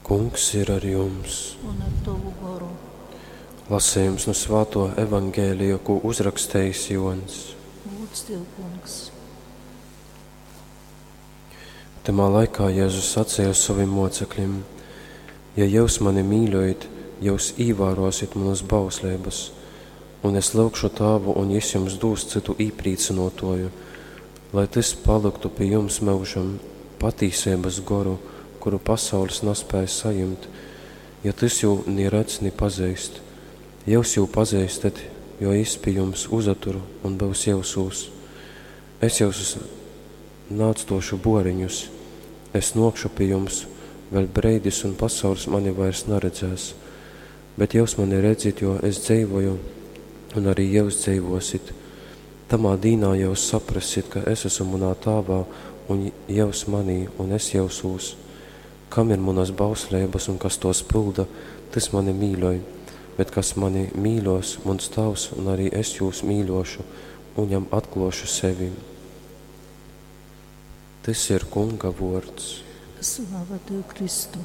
Kungs ir ar jums. Un ar tovu goru. Lasījums no Svāto Evangēlija, ko uzrakstījis Jons. Lūdz tev, kungs. Tamā laikā Jēzus sacīja saviem mocekļiem: Ja jūs mani mīļojat, jūs īvērosit manas bauslības, un es lūgšu Tāvu, un jis jums dūs citu īprīcinotoju, lai tas paliktu pie jums mūžam, patīsības goru, kuru pasaules nespēja sajumt, ja tas jū ni redz, ni pazīst. Jūs jū pazīstat, jo jis pie jums uzatur un būs jūsūs. Es jūs nāctošu boriņus, es nokšu pie jums, vēl breidis un pasaules mani vairs neredzēs, bet jūs mani redzit, jo es dzīvoju, un arī jūs dzīvosit. Tamā dīnā jūs saprasit, ka es esmu manā tāvā, un jūs manī, un es jūsūs. Kam ir manas bauslības un kas tos pilda, tas mani mīļoj, bet kas mani mīļos, mans tavs, un arī es jūs mīļošu, un jam atklošu sevi. Tas ir Kunga vārds. Slava tev, Kristu!